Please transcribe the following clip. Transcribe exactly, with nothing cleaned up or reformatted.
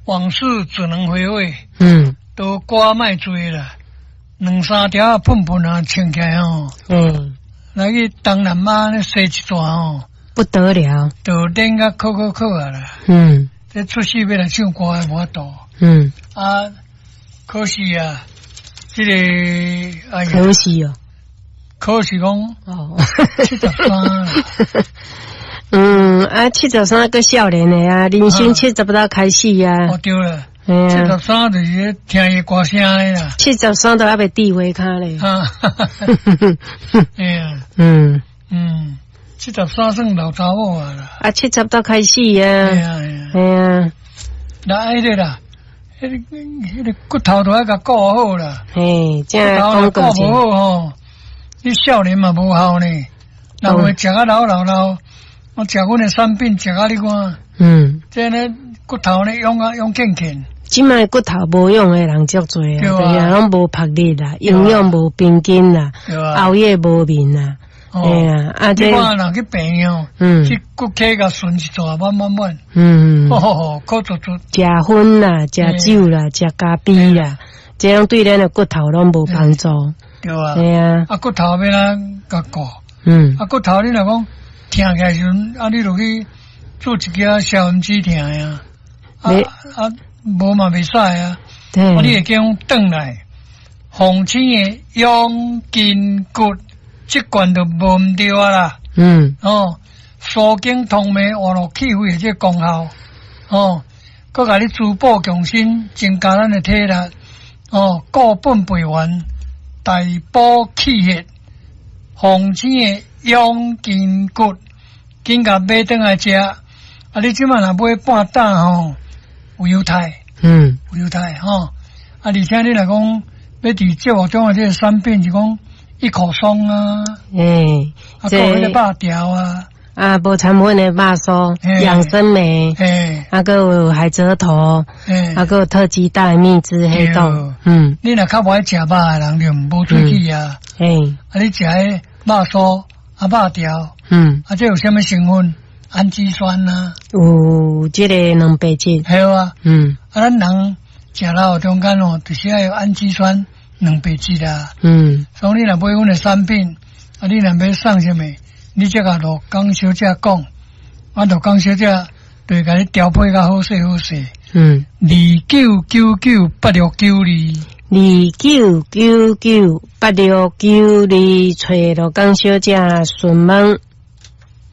往事只能回味。嗯，都歌莫濟啦，兩三條仔噴噴啊，穿起來吼。嗯，來去東南亞咧踅一逝吼，不得了，就練甲靠靠靠啊啦。嗯，這出世欲來唱歌的無法度。嗯，啊，可惜啊，這个哎呀，可惜哦，可惜講哦，七十三。嗯，啊，七十三閣少年的啊，人生七十才開始啊。哦，對了，七十三就是聽伊歌聲的啦。七十三都還袂智慧跤咧。啊，哎呀，嗯嗯，七十三算老查某啊啦。啊，七十才開始啊。哎呀哎呀，哎呀，那彼个啦，彼个彼个骨頭都愛共顧好啦。嘿，這骨頭顧無好吼，你少年嘛無效呢。人會食啊老老老。我食阮的產品，食啊你看，嗯，這呢骨頭呢養啊養健健。這擺骨頭無用的人足濟啊，攏無魄力啦，營養無平均啦，熬夜無眠啦，哎呀，啊這你看人去病院，嗯，去骨科共巡一逝滿滿滿，嗯，吼吼吼，苦足足。食薰啦，食酒啦，食咖啡啦，這樣對咱的骨頭攏無幫助。對啊，對啊，啊骨頭欲按怎共顧？嗯，啊骨頭你若講疼起來時陣，啊你就去做一支消炎止疼啊，啊啊無嘛袂使啊，啊你會叫轉來，鳳青的養筋骨，這罐就無毋對啊啦。嗯，哦，舒筋通脈、活絡氣血的這個功效，哦，閣共你滋補強身，增加咱的體力，哦，固本培元，大補氣血，鳳青的養筋骨，緊共買轉來食。啊，你這擺若買半擔吼，有優待，嗯，有優待吼。啊，而且你若講欲佇節目中的這個產品是講一口霜啊，欸，啊，閣有彼個肉條啊，啊，無摻粉的肉酥，養生梅，欸，啊，閣有海蜇頭，欸，啊，閣有特級大蜜汁黑豆，嗯，你若較無愛食肉的人就無喙齒啊，欸，啊，你食彼肉酥啊，肉條，嗯，啊，這有啥物成分？氨基酸啊，有這个蛋白質，對啊，嗯，啊，咱人食老中間哦，就是愛有氨基酸、蛋白質啊，嗯，所以你若買阮的產品，啊，你若欲送啥物，你才共羅江小姐講，啊，羅江小姐就會共你調配較好勢好勢，嗯，二九九九八六九二，二九九九八六九二，揣羅江小姐詢問。